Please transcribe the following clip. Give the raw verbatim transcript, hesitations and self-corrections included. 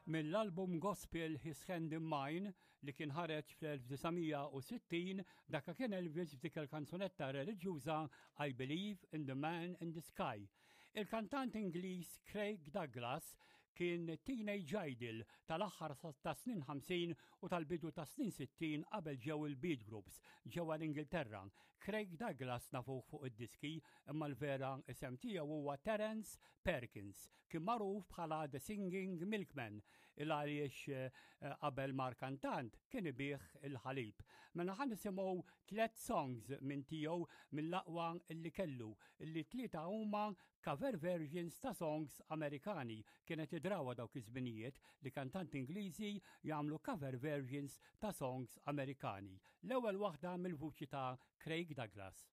Mill-album gospel His Hand in Mine li kien ħareġ fl-elf disa' mija u sittin, dakka kien Elvis f'dik il-kanzunetta reliġjuża I Believe in the Man in the Sky. Il-kantant Ingliż Craig Douglas kien teenage idol tal-aħħar ta' snin ħamsin u tal-bidu ta' snin sittin, qabel ġew il-beat groups ġewwa l-Ingilterra. Craig Douglas nafuh fuq id-diski, imma l-vera isem tiegħu huwa Terence Perkins. Kien magħruf bħala The Singing Milkman il għaliex eh, qabel mar kantant kien ibigħ il-ħalib. Mela ħa nisimgħu tliet songs minn tiegħu, mill-aqwa illi kellu, illi tlieta huma cover versions ta' songs Amerikani. Kienet id-drawwa dawk iż-żminijiet li kantanti Ingliżi jagħmlu cover versions ta' songs Amerikani. L-ewwel waħda mill-vuċi ta' Craig Douglas.